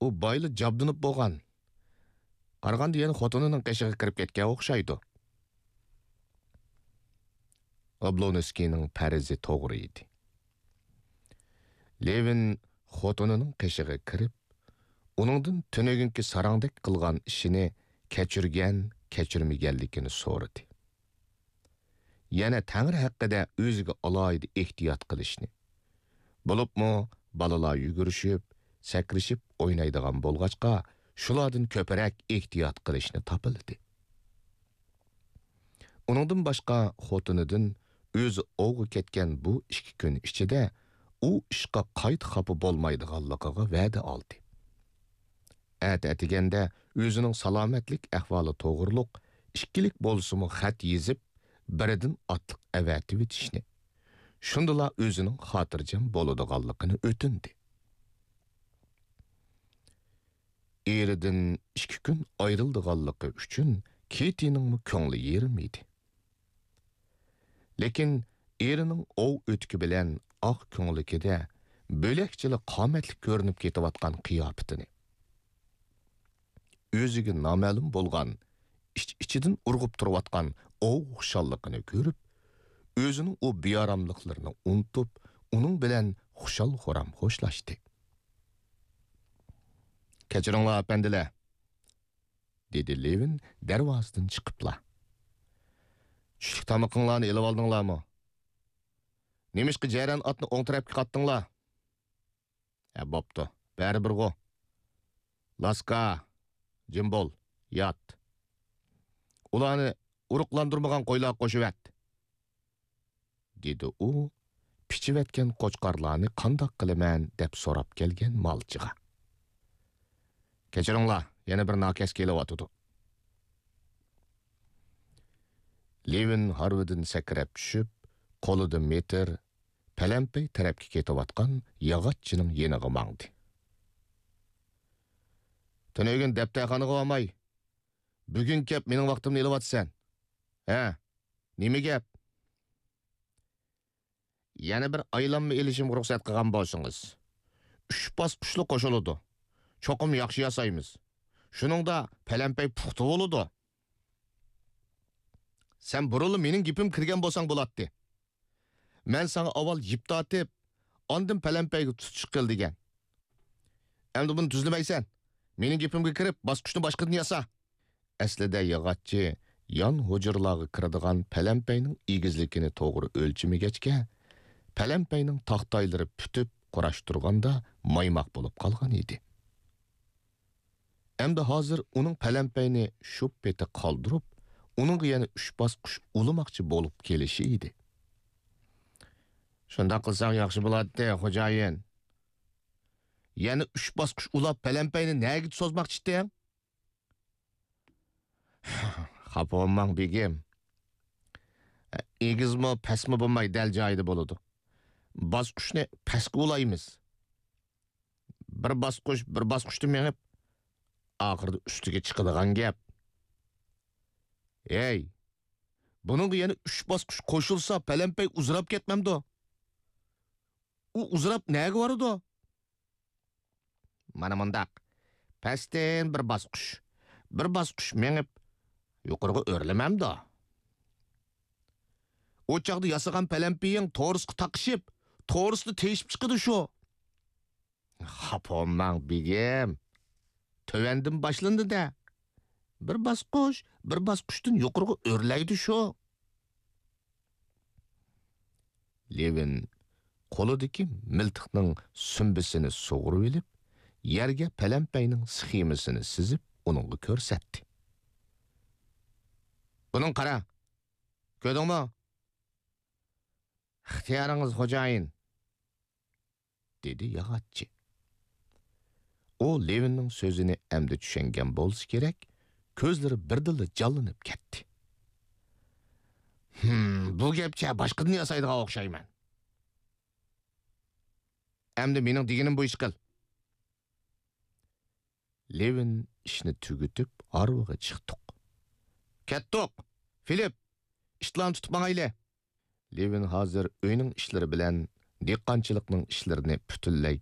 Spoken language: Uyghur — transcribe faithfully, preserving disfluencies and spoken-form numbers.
ئۇ بايىلا جابدۇنۇپ بولغان. قارىغاندا يەنە خوتۇنىنىڭ قېشىغا كىرىپ كەتكەن ئوخشايدۇ. ئوبلونسكىينىڭ پەرىزى توغرا ئىدى. لېۋىن خوتۇنىنىڭ قېشىغا كىرىپ، ئۇنىڭدىن تۈنۈگۈنكى ساراڭدەك قىلغان ئىشىنى كەچۈرگەن، كەچۈرمىگەنلىكىنى سورىدى. يەنە تەڭرى ھەققىدە ئۆزىگە ئالاھىدە ئېھتىيات قىلىشنى، بولۇپمۇ بالىلار يۈگۈرۈشۈپ، سەكرىشىپ ئوينايدىغان بولغاچقا، شۇلاردىن كۆپرەك ئېھتىيات قىلىشنى تاپىلىدى. ئۇنىڭدىن باشقا خوتۇنىدىن ئۆزى ئوۋغا كەتكەن بۇ ئىككى كۈن ئىچىدە ئۇ ئىشقا قايتا خاپا بولمايدىغانلىقىغا ۋەدە ئالدى. ئەتە ئەتىگەندە ئۆزىنىڭ سالامەتلىك ئەھۋالى توغرۇلۇق ئىككىلىك بولسىمۇ خەت يېزىپ، بىرىدىن ئاتلىق ئەۋەتىۋېتىشنى، شۇندىلا ئۆزىنىڭ خاتىرجەم بولىدىغانلىقىنى ئۆتۈندى. ئېرىدىن ئىككى كۈن ئايرىلىدىغانلىقى ئۈچۈن كېتىنىڭمۇ كۆڭلى يېرىم ئىدى. لېكىن ئېرىنىڭ ئوۋ ئۆتۈكى بىلەن ئاق كۆڭلىكىدە بۆلەكچىلا قامەتلىك كۆرۈنۈپ كېتىۋاتقان قىياپىتىنى، ئۆزىگە نامەلۇم بولغان ئىچ-ئىچىدىن ئۇرغۇپ تۇرۇۋاتقان ئوۋ خۇشاللىقىنى كۆرۈپ، ئۆزىنىڭ ئۇ بىئاراملىقلىرىنى ئۇنتۇپ، ئۇنىڭ بىلەن خۇشال-خۇرام خوشلاشتى. «كەچۈرۈڭلار، ئەپەندىلەر!» دېدى لېۋىن دەرۋازىدىن چىقىپلا. «چۈشلۈك تامىقىڭلارنى ئېلىۋالدىڭلارمۇ؟ نېمىشقا جەرەن ئاتنى ئوڭ تەرەپكە قاتتىڭلار؟ ھە، بوپتۇ، بەرىبىرغۇ. لاسكا، جىم بول، يات. ئۇلارنى ئۇرۇقلاندۇرمىغان قويلارغا قوشۇۋەت.» دېدى ئۇ پىچىۋەتكەن قوچقارلارنى قانداق قىلىمەن دەپ سوراپ كەلگەن مالچىغا. «كەچۈرۈڭلار، يەنە بىر ناكەس كېلىۋاتىدۇ.» لېۋىن ھارۋىدىن سەكرەپ چۈشۈپ، قولىدا مېتىر، پەلەمپەي تەرەپكە كېتىۋاتقان ياغاچچىنىڭ يېنىغا ماڭدى. «تۈنۈگۈن دەپتەرخانىغا بارماي، بۈگۈن كەپ مېنىڭ ۋاقتىمنى ئېلىۋاتىسەن. ھە، نېمە گەپ؟» «يەنە بىر ئايلانما ئېلىشىمغا رۇخسەت قىلغان بولسىڭىز. ئۈچ باسقۇچلۇق قوشۇلىدۇ. چوقۇم ياخشى ياسايمىز. شۇنىڭدا پەلەمپەي پۇختا بولىدۇ.» «سەن بۇرۇنلا مېنىڭ گېپىمگە كىرگەن بولساڭ بولاتتى. مەن ساڭا ئاۋۋال يىپ تارتىپ، ئاندىن پەلەمپەيگە تۇتۇش قىل دېگەن. ئەمدى بۇنى تۈزلىمەيسەن. مېنىڭ گېپىمگە كىرىپ، باسقۇچنى باشقىدىن ياسا.» ئەسلىدە ياغاچچى يان ھۇجرىلارغا كىرىدىغان پەلەمپەينىڭ ئېگىزلىكىنى توغرا ئۆلچىمىگەچكە، پەلەمپەينىڭ تاختايلىرى پۈتۈپ قۇراشتۇرغاندا مايماق بولۇپ قالغان ئىدى. ئەمدى ھازىر ئۇنىڭ پەلەمپەينى شۇ پېتى قالدۇرۇپ، ئۇنىڭغا يەنە ئۈچ باسقۇچ ئۇلىماقچى بولۇپ كېلىشى ئىدى. «شۇنداق قىلساڭ ياخشى بولاتتى، خوجايىن. يەنە ئۈچ باسقۇچ ئۇلاپ، پەلەمپەينى نەگە سوزماقچىتتىڭ؟» «خاپا بولماڭ، بېگىم. ئېگىزمۇ، پەسمۇ بولماي، دەل جايىدا بولىدۇ. باسقۇچنى پەسكە ئۇلايمىز. بىر باسقۇچ، بىر باسقۇچتا مېڭىپ، ئاخىرىدا ئۈستىگە چىقىدىغان گەپ.» «ھەي، بۇنىڭغا يەنە ئۈچ باسقۇچ قوشۇلسا، پەلەمپەي ئۇزىراپ كەتمەمدۇ؟ ئۇ ئۇزىراپ نەگە بارىدۇ؟» «مانا مۇنداق. پەستىن بىر باسقۇچ، بىر باسقۇچ مېڭىپ، يۇقىرىغا ئۆرلىمەمدۇ؟ ئۇ چاغدا ياسىغان پەلەمپىيىڭ تورۇسقا تاقىشىپ، تورۇستا تېيىشىپ چىقىدۇ شۇ.» «خاپا بولماڭ، بېگىم. تۆۋەندىن باشلىنىدۇ-دە. بىر باسقۇچ، بىر باسقۇچتىن يۇقىرىغا ئۆرلەيدۇ شۇ.» لېۋىن قولىدىكى مىلتىقنىڭ سۈمبىسىنى سۇغۇرۇۋېلىپ، يەرگە پەلەمپەينىڭ سخېمىسىنى سىزىپ، ئۇنىڭغا كۆرسەتتى. «بۇنىڭغا قارا. كۆردۈڭمۇ؟» «ئىختىيارىڭىز، خوجايىن.» دېدى ياغاچچى. ئۇ لېۋىننىڭ سۆزىنى ئەمدى چۈشەنگەن بولسا كېرەك، كۆزلىرى بىردىنلا جانلىنىپ كەتتى. «ھىم، بۇ گەپچە باشقىدىن ياسايدىغان ئوخشايمەن. ئەمدى مېنىڭ دېگىنىم بويىچە قىل.» لېۋىن ئىشنى تۈگىتىپ، ھارۋىغا چىقتۇق. «كەتتۇق! فىلىپ، ئىتلارنى تۇتۇپ ماڭايلى!» لېۋىن ھازىر ئۆينىڭ ئىشلىرى بىلەن دېھقانچىلىقنىڭ ئىشلىرىنى پۈتۈنلەي